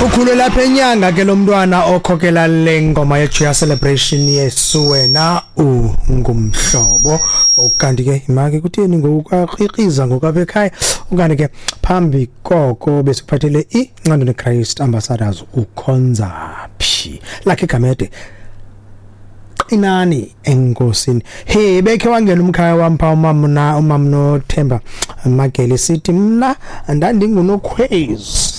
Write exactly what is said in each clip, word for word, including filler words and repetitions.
Ukhule lapha enyanga ke lo mntwana okhokela le ngoma ye-Joyous Celebration, "Yesu Wena Ungumhlobo". Ukanti ke imake kutheni ngokukrikriza ngokwapha ekhaya? Ukanti ke phambi koko besikuphathele iNcandweni Christ Ambassadors, "Ukhonza Phi". Lakhe Gamede, "Qinani Enkosini". He, bekhe wangena umkhaya wam pha, umama umama Nothemba Magele, sithi mna ndandingunokhwezi,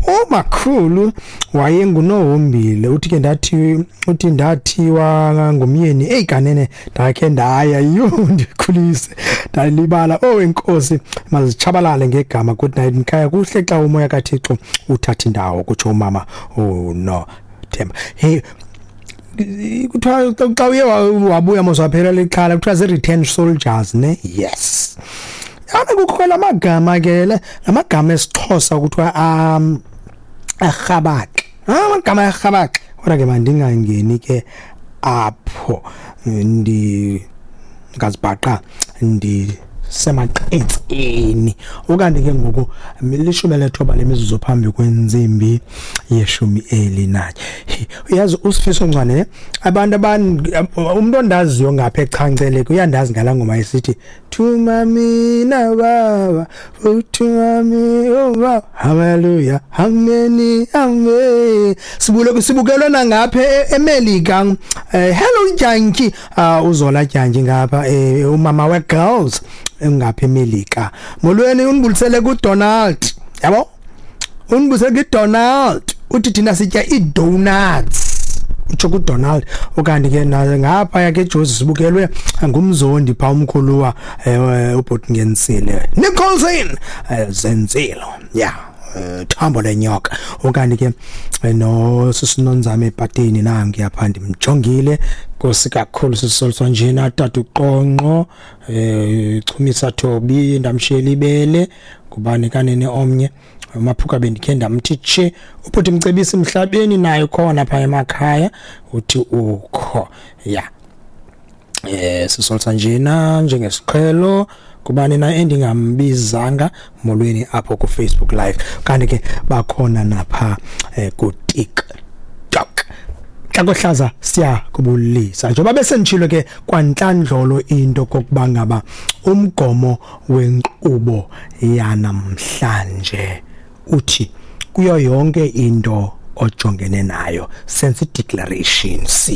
umakhulu wayengunohombile. Uthi ke ndathi, uthi ndathiwa ngumyeni. Eyi kanene, ndakhe ndaya, yho, ndikhulise ndalibala. Oh inkosi, mazitshabalale ngegama. Good night mkhaya, kuhle xa umoya kaThixo uthatha indawo, kutsho umama. Oh no Themba, hey, kuthiwa xa uye wabuya mos waphela lixhala, kuthiwa zii-return soldiers ne. Yes, yana kukho lamagama ke, lamagama esiXhosa kuthiwa um arhabaxa, amagama arhabaxa. Kodwa ke mandingangeni ke apho, ndi ngazibhaqa ndisemaqetseni. Ukanti ke ngoku lishumi lethoba lemizuzu phambi kwentsimbi yeshumi elinanye. Uyazi uSifiso Ncwane ne, abantu umuntu ondaziyo ngapha eChanceleke uyandazi ngalaa ngoma isithi "Thuma mina Baba, uthuma mina Baba, haleluya, ameni, amen". Sibule sibukelwe nangapha eMelika. Hello Janki, uZola Janki ngapha, umama we girls engapha eMelika. Molweni, unibulisele kuDonald, yabo, unibulisele kuDonald, uthi thina sitya idonuts, utsho kuDonald. Ukanti ke ngapha yakhe eJozi sibukelwe ngumzondi pha, umkhuluwa ubhuti Ngensile Nicholson Zenzilo, yeah, thambo lenyoka. Ukanti ke no sisinonzame epateni nangi apha, ndimjongile, Nkosi kakhulu. Sisolso njena tata uqonqo eh Chumisa Thobi, ndamshiyela ibele ngubani kanene omnye Maphuka, bendikhe ndamthi tshe ubhuti Mcebisi emhlabeni nayo khona pha emakhaya, uthi ukho ya. eh sisolsa njena njengesiqhelo. Kubani na endingambizanga? Molweni apho ku Facebook Live, kanti ke bakhona napha eh, ku TikTok. Xa kohlaza siyakubulisa njengoba besenditshilo ke kwantlandlolo into kokuba ngaba umgomo wenkqubo yanamhlanje uthi kuyo yonke into ojongene nayo sense declaration sithi